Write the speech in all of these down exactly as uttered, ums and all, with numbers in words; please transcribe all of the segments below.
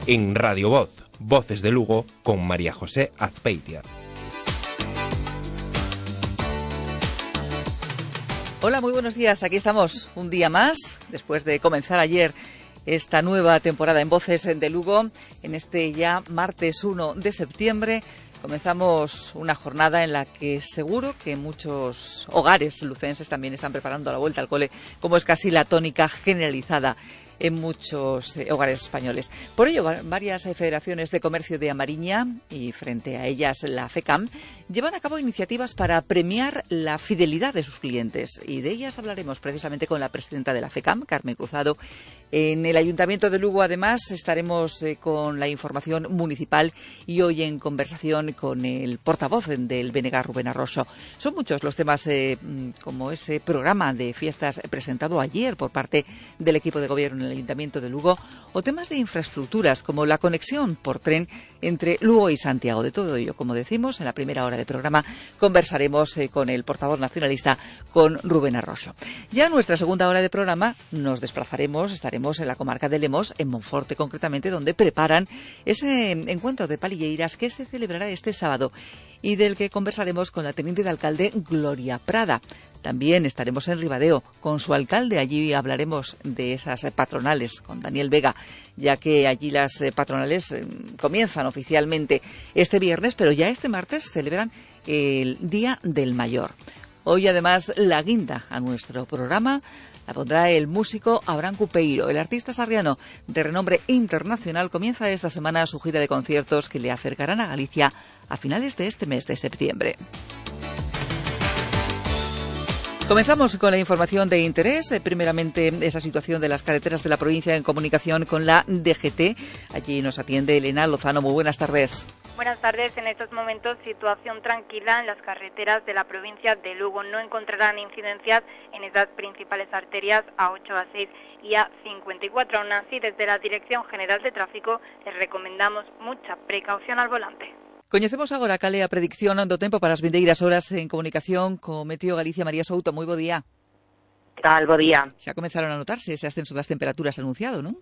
en Radio Voz, Voces de Lugo, con María José Azpeitia. Hola, muy buenos días. Aquí estamos un día más, después de comenzar ayer esta nueva temporada en Voces de Lugo. En este ya martes uno de septiembre comenzamos una jornada en la que seguro que muchos hogares lucenses también están preparando la vuelta al cole, como es casi la tónica generalizada en muchos eh, hogares españoles. Por ello, varias eh, federaciones de comercio de Amariña y frente a ellas la FECAM llevan a cabo iniciativas para premiar la fidelidad de sus clientes, y de ellas hablaremos precisamente con la presidenta de la FECAM, Carmen Cruzado. En el Ayuntamiento de Lugo, además, estaremos eh, con la información municipal y hoy en conversación con el portavoz del B N G, Rubén Arroso. Son muchos los temas, eh, como ese programa de fiestas presentado ayer por parte del equipo de gobierno en el Ayuntamiento de Lugo, o temas de infraestructuras como la conexión por tren entre Lugo y Santiago. De todo ello, como decimos, en la primera hora de programa conversaremos eh, con el portavoz nacionalista, con Rubén Arroso. Ya en nuestra segunda hora de programa nos desplazaremos, estaremos en la comarca de Lemos, en Monforte concretamente, donde preparan ese encuentro de palilleiras que se celebrará este sábado y del que conversaremos con la teniente de alcalde Gloria Prada. También estaremos en Ribadeo con su alcalde. Allí hablaremos de esas patronales con Daniel Vega, ya que allí las patronales comienzan oficialmente este viernes, pero ya este martes celebran el Día del Mayor. Hoy, además, la guinda a nuestro programa la pondrá el músico Abraham Cupeiro. El artista sarriano de renombre internacional comienza esta semana su gira de conciertos que le acercarán a Galicia a finales de este mes de septiembre. Comenzamos con la información de interés. Primeramente, esa situación de las carreteras de la provincia en comunicación con la D G T. Allí nos atiende Elena Lozano. Muy buenas tardes. Buenas tardes. En estos momentos, situación tranquila en las carreteras de la provincia de Lugo. No encontrarán incidencias en esas principales arterias A ocho, A seis y A cincuenta y cuatro. Aún así, desde la Dirección General de Tráfico les recomendamos mucha precaución al volante. Coñecemos agora cal é a predicción do tempo para as vindeiras horas en comunicación co Meteo Galicia. María Souto, moi bo día. Que tal, bo día. Xa comenzaron a notarse ese ascenso das temperaturas anunciado, non?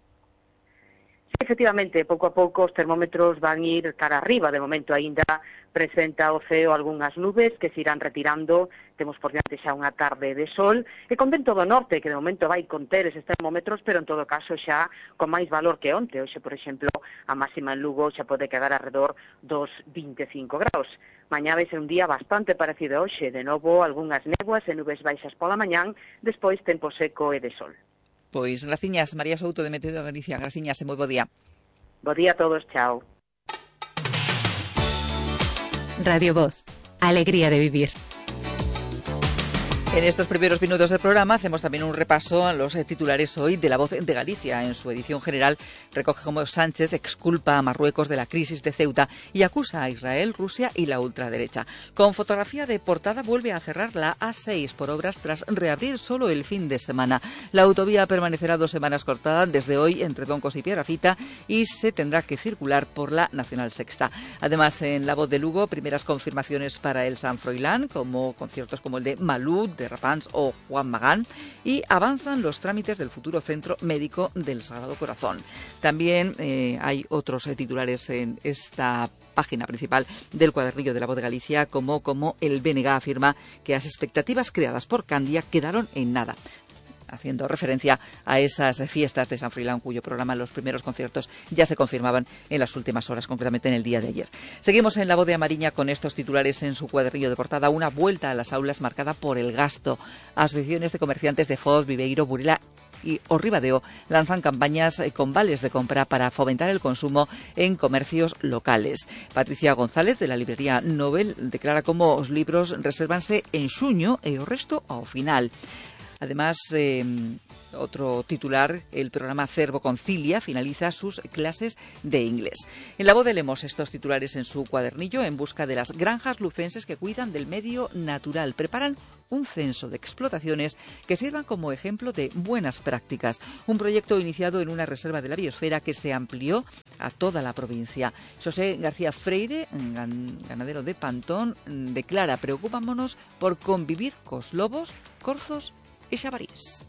Sí, efectivamente, pouco a pouco os termómetros van ir cara arriba. De momento aínda presenta o ceo algunhas nubes que se irán retirando. Temos por diante xa unha tarde de sol e con vento do norte, que de momento vai conter eses termómetros, pero en todo caso xa con máis valor que onte. Hoxe, por exemplo, a máxima en Lugo xa pode quedar alrededor dos vinte e cinco graus. Mañá vai ser un día bastante parecido a hoxe. De novo, algunhas néboas e nubes baixas pola mañán, despois tempo seco e de sol. Pois, graciñas, María Souto de Meteo Galicia. Graciñas e moi bo día. Bo día a todos, chao. Radio Voz, alegría de vivir. En estos primeros minutos del programa hacemos también un repaso a los titulares hoy de La Voz de Galicia. En su edición general recoge cómo Sánchez exculpa a Marruecos de la crisis de Ceuta y acusa a Israel, Rusia y la ultraderecha. Con fotografía de portada vuelve a cerrar la A seis por obras tras reabrir solo el fin de semana. La autovía permanecerá dos semanas cortada desde hoy entre Doncos y Piedrafita y se tendrá que circular por la Nacional Sexta. Además, en La Voz de Lugo, primeras confirmaciones para el San Froilán, como conciertos como el de Malú, de Rapans o Juan Magán, y avanzan los trámites del futuro centro médico del Sagrado Corazón. También eh, hay otros eh, titulares en esta página principal del cuadernillo de La Voz de Galicia, como, como el B N G afirma que las expectativas creadas por Candia quedaron en nada, haciendo referencia a esas fiestas de San Froilán, cuyo programa, los primeros conciertos, ya se confirmaban en las últimas horas, concretamente en el día de ayer. Seguimos en La Voz de Amariña con estos titulares en su cuadernillo de portada. Una vuelta a las aulas marcada por el gasto. Asociaciones de comerciantes de Foz, Viveiro, Burela y o Ribadeo lanzan campañas con vales de compra para fomentar el consumo en comercios locales. Patricia González, de la librería Nobel, declara como os libros resérvanse en xuño e o resto ao final. Además, eh, otro titular, el programa Cervo Concilia finaliza sus clases de inglés. En La Voz de Lemos, estos titulares en su cuadernillo, en busca de las granjas lucenses que cuidan del medio natural. Preparan un censo de explotaciones que sirvan como ejemplo de buenas prácticas. Un proyecto iniciado en una reserva de la biosfera que se amplió a toda la provincia. José García Freire, ganadero de Pantón, declara: preocupámonos por convivir cos lobos, corzos e xabarís.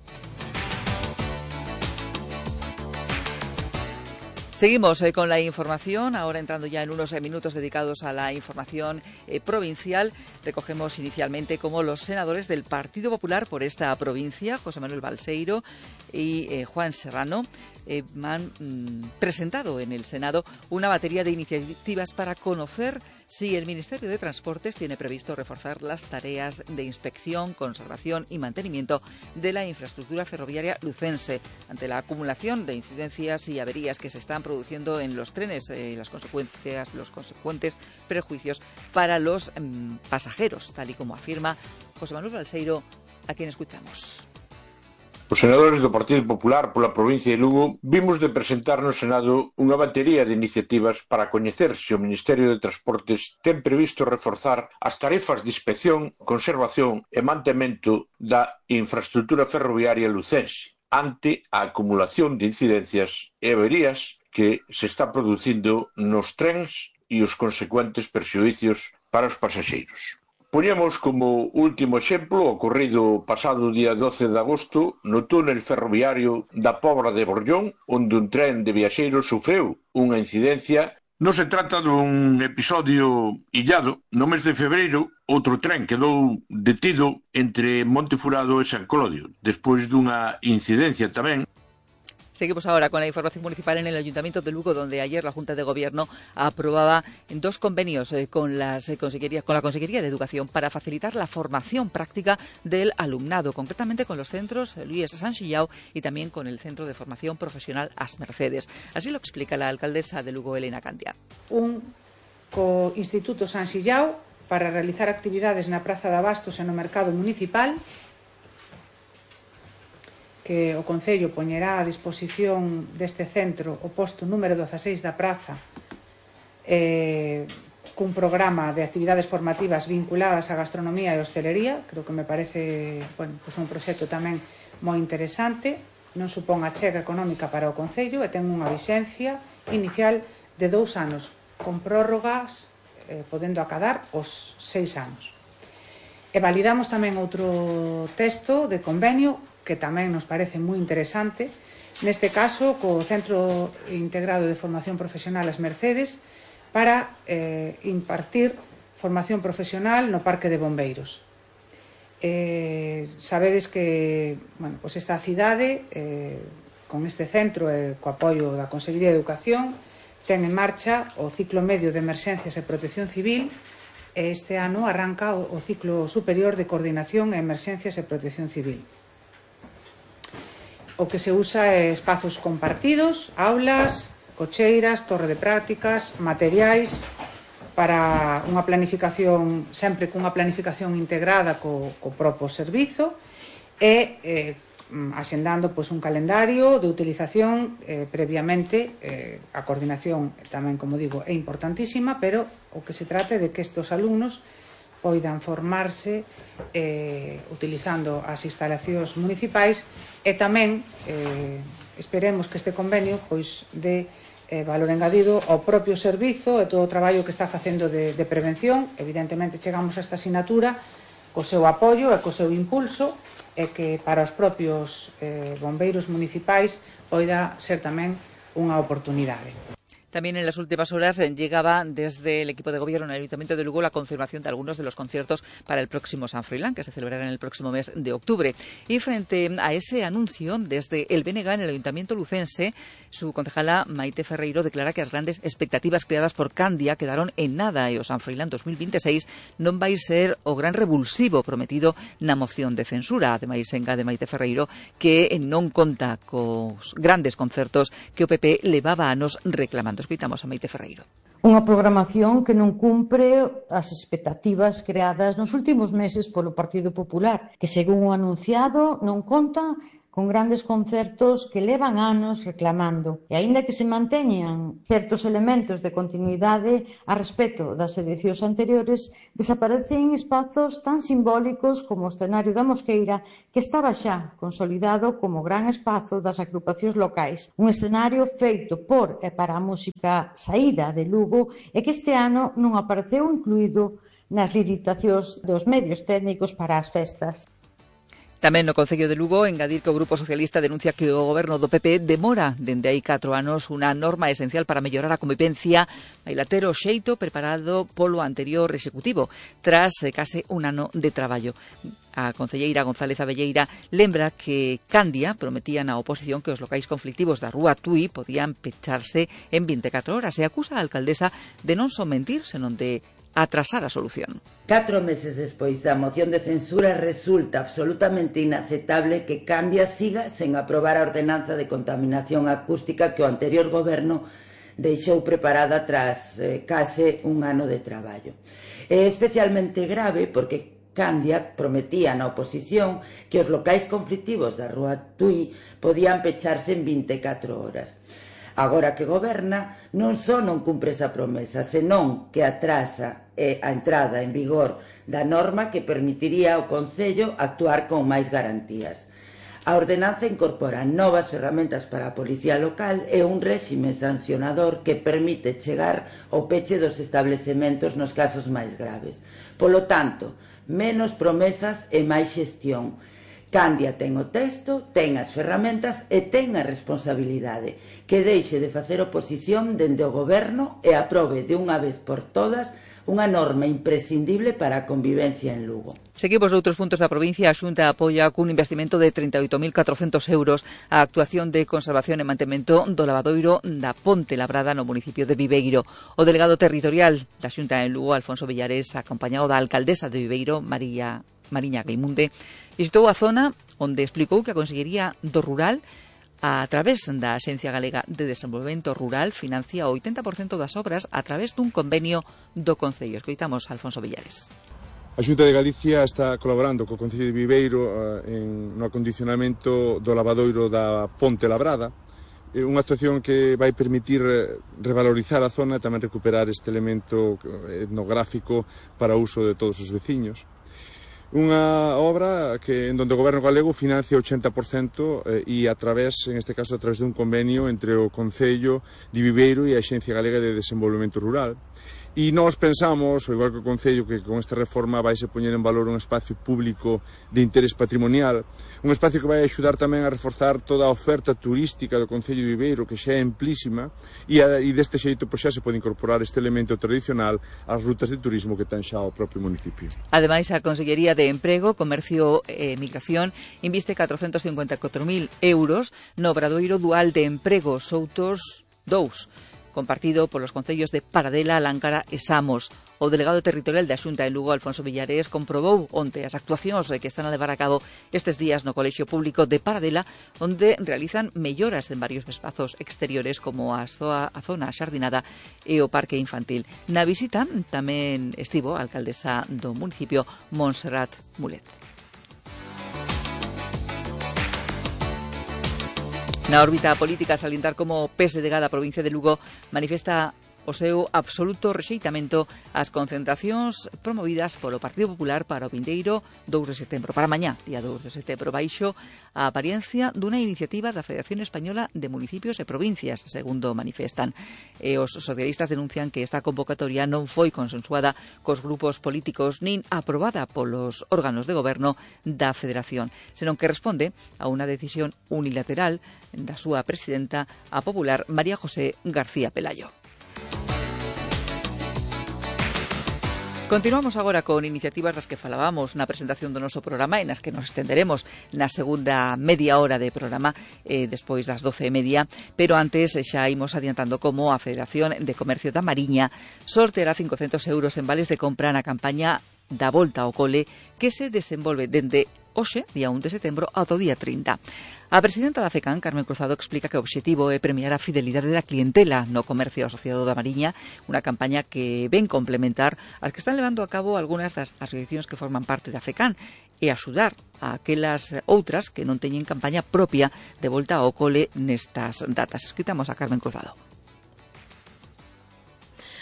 Seguimos eh, con la información, ahora entrando ya en unos eh, minutos dedicados a la información eh, provincial. Recogemos inicialmente cómo los senadores del Partido Popular por esta provincia, José Manuel Balseiro y eh, Juan Serrano, eh, han mm, presentado en el Senado una batería de iniciativas para conocer si el Ministerio de Transportes tiene previsto reforzar las tareas de inspección, conservación y mantenimiento de la infraestructura ferroviaria lucense ante la acumulación de incidencias y averías que se están produciendo en los trenes y eh, las consecuencias, los consecuentes perjuicios para los mmm, pasajeros, tal y como afirma José Manuel Balseiro, a quien escuchamos. Os senadores do Partido Popular pola provincia de Lugo vimos de presentar no Senado unha batería de iniciativas para coñecer se o Ministerio de Transportes ten previsto reforzar as tarefas de inspección, conservación e mantemento da infraestructura ferroviaria lucense ante a acumulación de incidencias e averías que se está producindo nos trens e os consecuentes perxuízos para os pasaxeiros. Poñemos como último exemplo o ocorrido pasado día doce de agosto no túnel ferroviario da Pobra de Borllón, onde un tren de viaxeiros sufreu unha incidencia. Non se trata dun episodio illado. No mes de febreiro, outro tren quedou detido entre Montefurado e San Clodio, despois dunha incidencia tamén. Seguimos ahora con la información municipal en el Ayuntamiento de Lugo, donde ayer la Junta de Gobierno aprobaba dos convenios eh, con, las, eh, consejerías, con la Consejería de Educación para facilitar la formación práctica del alumnado, concretamente con los centros Luis San Xillao y también con el Centro de Formación Profesional As Mercedes. Así lo explica la alcaldesa de Lugo, Elena Cantia. Un co Instituto San Xillao para realizar actividades na Praza de Abastos e no Mercado Municipal, que o Concello poñerá a disposición deste centro o posto número dezaseis da praza eh, cun programa de actividades formativas vinculadas á gastronomía e hostelería. Creo que me parece bueno, pues un proxecto tamén moi interesante, non supón a chega económica para o Concello e ten unha vixencia inicial de dous anos, con prórrogas eh, podendo acadar os seis anos. E validamos tamén outro texto de convenio que tamén nos parece moi interesante, neste caso co Centro Integrado de Formación Profesional As Mercedes, para eh, impartir formación profesional no Parque de Bombeiros. Eh, sabedes que bueno, pues esta cidade, eh, con este centro e eh, co apoio da Consellería de Educación, ten en marcha o ciclo medio de Emerxencias e Protección Civil, e este ano arranca o, o ciclo superior de Coordinación e Emerxencias e Protección Civil. O que se usa é espazos compartidos, aulas, cocheiras, torre de prácticas, materiais, para unha planificación, sempre cunha planificación integrada co, co propio servizo e eh, asendando pois, un calendario de utilización eh, previamente. Eh, a coordinación tamén, como digo, é importantísima, pero o que se trata é de que estes alumnos poidan formarse eh, utilizando as instalacións municipais e tamén eh, esperemos que este convenio pois dé eh, valor engadido ao propio servizo e todo o traballo que está facendo de, de prevención. Evidentemente chegamos a esta asignatura co seu apoio e co seu impulso e que para os propios eh, bombeiros municipais poida ser tamén unha oportunidade. También en las últimas horas llegaba desde el equipo de gobierno en el Ayuntamiento de Lugo la confirmación de algunos de los conciertos para el próximo San Froilán, que se celebrará en el próximo mes de octubre. Y frente a ese anuncio, desde el B N G en el Ayuntamiento lucense, su concejala Maite Ferreiro declara que las grandes expectativas creadas por Candia quedaron en nada e o San Froilán dos mil veintiséis non vai ser o gran revulsivo prometido na moción de censura. Ademais, engade Maite Ferreiro que non conta cos grandes concertos que o P P levaba anos reclamando. Escoitamos a Maite Ferreiro. Unha programación que non cumpre as expectativas creadas nos últimos meses polo Partido Popular, que según o anunciado non conta con grandes concertos que levan anos reclamando. E aínda que se manteñan certos elementos de continuidade a respecto das edicións anteriores, desaparecen espazos tan simbólicos como o escenario da Mosqueira, que estaba xa consolidado como gran espazo das agrupacións locais. Un escenario feito por e para a música saída de Lugo e que este ano non apareceu incluído nas licitacións dos medios técnicos para as festas. Tamén no Concello de Lugo, engadir que o Grupo Socialista denuncia que o goberno do P P demora dende hai catro anos unha norma esencial para mellorar a convivencia, vai ter o xeito preparado polo anterior executivo, tras case un ano de traballo. A concelleira González Abelleira lembra que Candia prometía na oposición que os locais conflictivos da Rúa Tui podían pecharse en vinte e catro horas e acusa a alcaldesa de non só mentir, senón de atrasar a solución. Catro meses despois da moción de censura resulta absolutamente inaceptable que Candia siga sen aprobar a ordenanza de contaminación acústica que o anterior goberno deixou preparada tras eh, case un ano de traballo. É especialmente grave porque Candia prometía na oposición que os locais conflictivos da Rúa Tui podían pecharse en vinte e catro horas. Agora que goberna, non só non cumpre esa promesa, senón que atrasa eh, a entrada en vigor da norma que permitiría ao Concello actuar con máis garantías. A ordenanza incorpora novas ferramentas para a policía local e un réxime sancionador que permite chegar ao peche dos establecementos nos casos máis graves. Polo tanto, menos promesas e máis xestión. Candia ten o texto, ten as ferramentas e ten a responsabilidade que deixe de facer oposición dende o goberno e aprobe de unha vez por todas unha norma imprescindible para a convivencia en Lugo. Seguimos noutros puntos da provincia. A Xunta apoia cun investimento de trinta e oito mil catrocentos euros a actuación de conservación e mantemento do lavadoiro da Ponte Labrada no municipio de Viveiro. O delegado territorial da Xunta en Lugo, Alfonso Villares, acompañado da alcaldesa de Viveiro, María Mariña Gaimunde, visitou a zona onde explicou que a Consellería do Rural, a través da Axencia Galega de Desenvolvemento Rural, financia o oitenta por cento das obras a través dun convenio do Concello. Escoitamos a Alfonso Villares. A Xunta de Galicia está colaborando co Concello de Viveiro eh, en, no acondicionamento do lavadoiro da Ponte Labrada, eh, unha actuación que vai permitir eh, revalorizar a zona e tamén recuperar este elemento etnográfico para o uso de todos os veciños. Unha obra que en donde o Goberno galego financia o ochenta por cento eh, e a través, en este caso, a través de un convenio entre o Concello de Viveiro e a Axencia Galega de Desenvolvemento Rural. E nós pensamos, ao igual que o Concello, que con esta reforma vai se poñer en valor un espacio público de interés patrimonial, un espacio que vai axudar tamén a reforzar toda a oferta turística do Concello de Viveiro, que xa é amplísima, e, a, e deste xeito pois, xa se pode incorporar este elemento tradicional ás rutas de turismo que ten xa o propio municipio. Ademais, a Consellería de Emprego, Comercio e Migración inviste catrocentos cincuenta e catro mil euros no obradoiro dual de emprego Soutos dous, compartido polos concellos de Paradela, Láncara e Samos. O delegado territorial da Xunta en Lugo, Alfonso Villares, comprobou onte as actuacións que están a levar a cabo estes días no Colexio Público de Paradela, onde realizan melloras en varios espazos exteriores como a, zoa, a zona xardinada e o parque infantil. Na visita tamén estivo a alcaldesa do municipio, Montserrat Mulet. Na órbita política, salientar como o P S D G da provincia de Lugo manifesta o seu absoluto rexeitamento ás concentracións promovidas polo Partido Popular para o vindeiro dous de setembro, para mañá, día dous de setembro, baixo a apariencia dunha iniciativa da Federación Española de Municipios e Provincias, segundo manifestan. E os socialistas denuncian que esta convocatoria non foi consensuada cos grupos políticos nin aprobada polos órganos de goberno da Federación, senón que responde a unha decisión unilateral da súa presidenta, a popular María José García Pelayo. Continuamos agora con iniciativas das que falábamos na presentación do noso programa e nas que nos estenderemos na segunda media hora de programa eh, despois das doce e media, pero antes xa imos adiantando como a Federación de Comercio da Mariña sorteará cincocentos euros en vales de compra na campaña da Volta ao Cole que se desenvolve dende hoxe, día un de setembro, ata o día trinta. A presidenta da FECAN, Carmen Cruzado, explica que o obxectivo é premiar a fidelidade da clientela no comercio asociado da Mariña, unha campaña que ven complementar as que están levando a cabo algunhas das asociacións que forman parte da FECAN e axudar a aquelas outras que non teñen campaña propia de volta ao cole nestas datas. Escoitamos a Carmen Cruzado.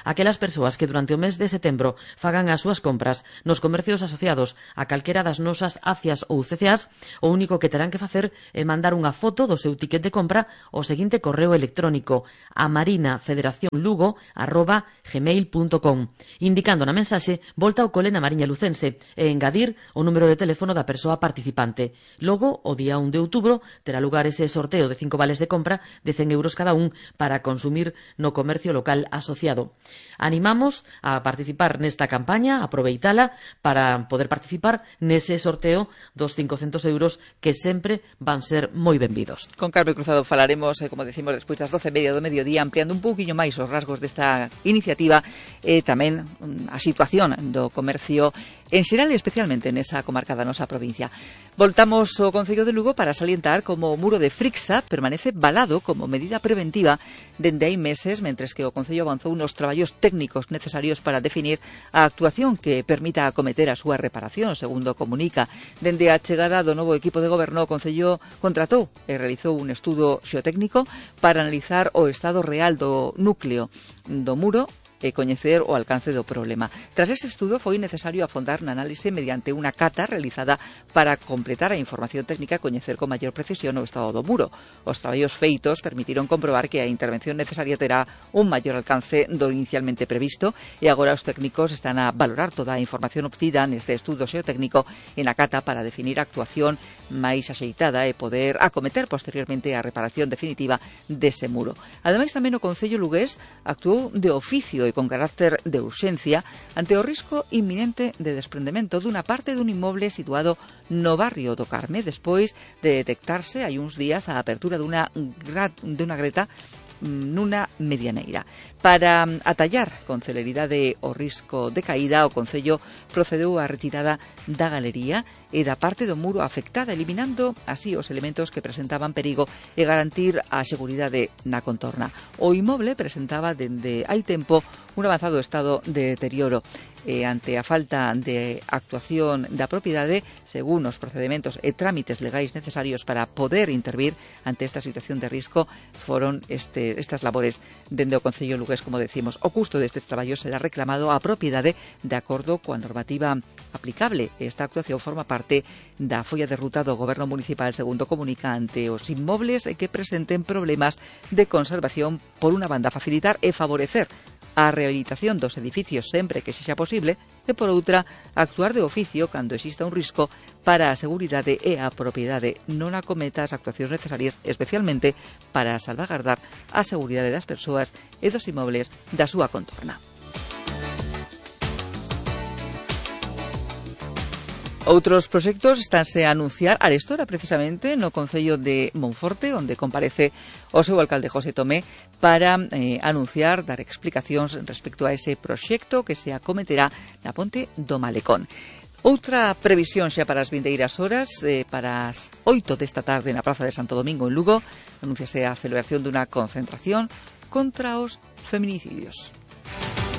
aquelas persoas que durante o mes de setembro fagan as súas compras nos comercios asociados a calquera das nosas ACIAs ou C C As, o único que terán que facer é mandar unha foto do seu ticket de compra ao seguinte correo electrónico a marinafederacionlugo arroba gmail punto com, indicando na mensaxe volta ao cole na Mariña Lucense e engadir o número de teléfono da persoa participante. Logo, o día un de outubro, terá lugar ese sorteo de cinco vales de compra de cen euros cada un para consumir no comercio local asociado. Animamos a participar nesta campaña, aproveitala para poder participar nese sorteo dos cincocentos euros que sempre van ser moi benvidos. Con Carmen Cruzado falaremos, eh, como decimos, despois das doce e media do mediodía, ampliando un pouquiño máis os rasgos desta iniciativa e tamén a situación do comercio en xeral e especialmente nesa comarca da nosa provincia. Voltamos ao Concello de Lugo para salientar como o muro de Frixa permanece valado como medida preventiva dende hai meses, mentres que o Concello avanzou nos traballos técnicos necesarios para definir a actuación que permita acometer a súa reparación, segundo comunica. Dende a chegada do novo equipo de goberno, o Concello contratou e realizou un estudo xeotécnico para analizar o estado real do núcleo do muro e coñecer o alcance do problema. Tras ese estudo foi necesario afondar na análise mediante unha cata realizada para completar a información técnica e coñecer con maior precisión o estado do muro. Os traballos feitos permitiron comprobar que a intervención necesaria terá un maior alcance do inicialmente previsto e agora os técnicos están a valorar toda a información obtida neste estudo xeotécnico e na cata para definir a actuación máis axeitada e poder acometer posteriormente a reparación definitiva dese muro. Ademais, tamén o Concello lugués actuou de oficio e con carácter de urxencia ante o risco inminente de desprendemento dunha parte dun inmoble situado no barrio do Carme, despois de detectarse hai uns días a apertura dunha, dunha greta nunha medianeira. Para atallar con celeridade o risco de caída, o Concello procedeu á retirada da galería e da parte do muro afectada, eliminando así os elementos que presentaban perigo e garantir a seguridade na contorna. O inmoble presentaba dende hai tempo un avanzado estado de deterioro e ante a falta de actuación da propiedade, según os procedementos e trámites legais necesarios para poder intervir ante esta situación de risco, foron este, estas labores dende o Concello lugués, como decimos. O custo destes traballos será reclamado á propiedade de acordo coa normativa aplicable. Esta actuación forma parte da folla de ruta do Goberno Municipal, segundo comunica, ante os inmobles que presenten problemas de conservación, por unha banda facilitar e favorecer a rehabilitación dos edificios sempre que sexa posible e, por outra, actuar de oficio cando exista un risco para a seguridade e a propiedade non acometa as actuacións necesarias, especialmente para salvagardar a seguridade das persoas e dos inmobles da súa contorna. Outros proxectos estánse a anunciar arestora precisamente no Concello de Monforte, onde comparece o seu alcalde José Tomé para eh, anunciar, dar explicacións respecto a ese proxecto que se acometerá na ponte do Malecón. Outra previsión xa para as vindeiras horas, eh, para as oito desta tarde na Praza de Santo Domingo en Lugo, anunciase a celebración dunha concentración contra os feminicidios.